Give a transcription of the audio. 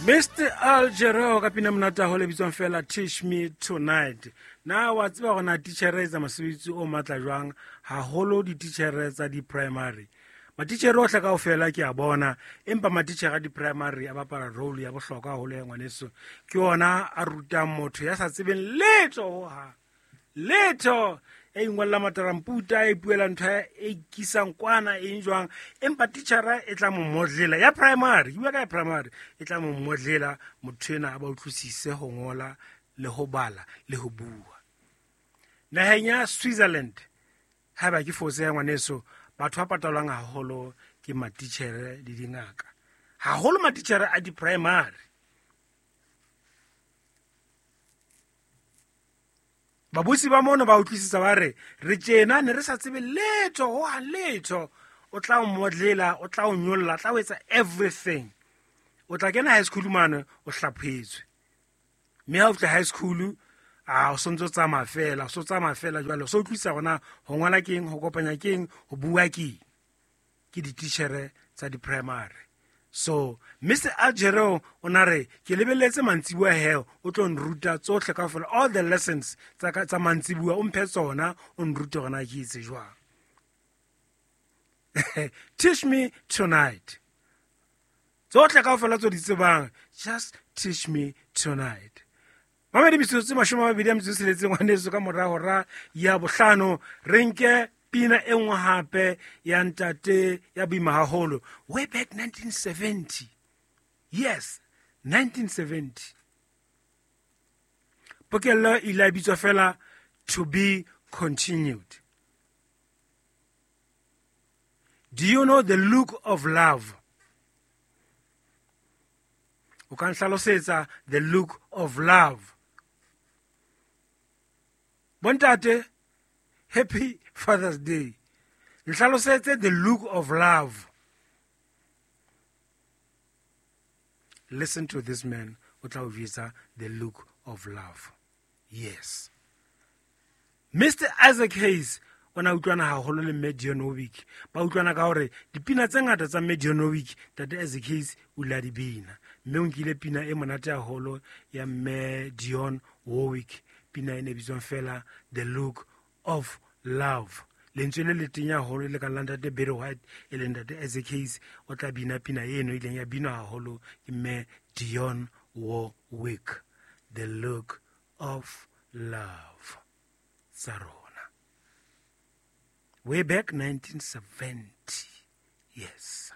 Mr Algero ka pina monate haholo e bitswang fela Teach Me Tonight. Na wa tseba gore na titjhere e etsa mosebetsi o matla jwang, haholo dititjhere tsa di-primary. Matitjhere ohle kaofela ke a bona, empa matitjhere a di-primary a bapala role ya bohlokwa haholo ya ngwaneso. Ke ona a rutang motho ya sa tsebeng letho hohang. Letho ya ingwalla mataramputa, ya ipuela ntho e ikisang kwana eng jwang, empa titjhara e tla mo modlela ya primary, ke bua ka ya primary, e tla mo modlela motho ena a ba utlwisise ho ngola le ho bala le ho bua. Naheng ya Switzerland, haeba ke fose ya ngwaneso, batho ba patalwang haholo ke matitjhere le dingaka, haholo matitjhere a di-primary. Babusi ba mono ba utlwisisa ba re, re tjena ne re sa tsebe letho, ho hang letho. O tla o modlela, o tla o nyolla, o tla o etsa everything. O tla kena high school mane, o hlaphohetswe. Mme ha o fihla high school, a o sontso tsamaya fela, o so tsamaya fela jwale, o so utlwisisa hore na ho ngola ke eng, ho kopanya ke eng, ho bua ke eng. Ke dititjhere tsa di-primary. So Mr Algero o na re ke lebelletse mantsibuya he o tlo nruta tsohle kaofela, all the lessons tsa ka tsa mantsibuya o mphe tsona, o nrute hore na ke etse jwang. Teach me tonight. Tsohle kaofela tso di tsebang, just teach me tonight. Mamedi metsotso mashome a mabedi a metso e tsheletseng ngwaneso ka mora hora ya bohlano, re nke pina e nngwe hape ya ntate ya boima haholo, way back 1970. Yes, 1970. Pokello e ile ya bitswa fela To Be Continued. Do you know the look of love? O ka nhlalosetsa the look of love? Bontate, happy Father's Day. Nhlalosetse the look of love. Listen to this man, o tla o jwetsa the look of love. Yes. Mr Isaac Hayes o na utlwana haholo le Mme Dionne Warwick. Ba utlwana ka hore dipina tse ngata tsa Mme Dionne Warwick, Ntate Isaac Hayes o ile a di bina. Mme o nkile pina e monate haholo ya Mme Dionne Warwick, pina e ne bitswang fela The Look of Love. Lentswe le le tenya haholo le ka la Ntate Barry White, e leng Ntate Isaac Hayes, o tla bina pina eno e ileng ya binwa haholo ke Mme Dionne Warwick, The Look of Love. Tsa rona. Way back 1970. Yes.